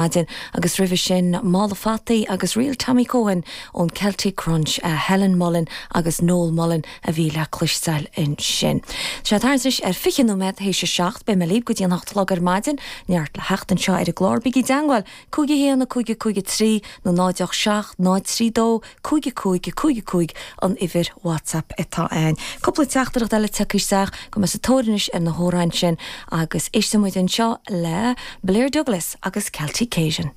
Maidin agus roimhe sin Mála Fataí agus Real Tommy Coen ón Celtic Crunch, Helen Mullen agus Noel Mullen a bhí le cloisteáil ansin. Tá sé thart anois ar 20 nóiméad théis a 7, beidh mé libh go dtí an 8 a chlog ar maidin, neart le theacht anseo ar an gclár, bígí i dteangmháil, 5 1 5 5 3 nó 0 8 7 0 3 2 5 5 5 5 an uimhir WhatsApp atá ann. Cúpla teachtaireacht eile tagtha isteach, go mbeidh mé sa tóir anois ar na hamhráin sin agus éistfidh muid anseo le Blair Douglas agus Celtic Cajun.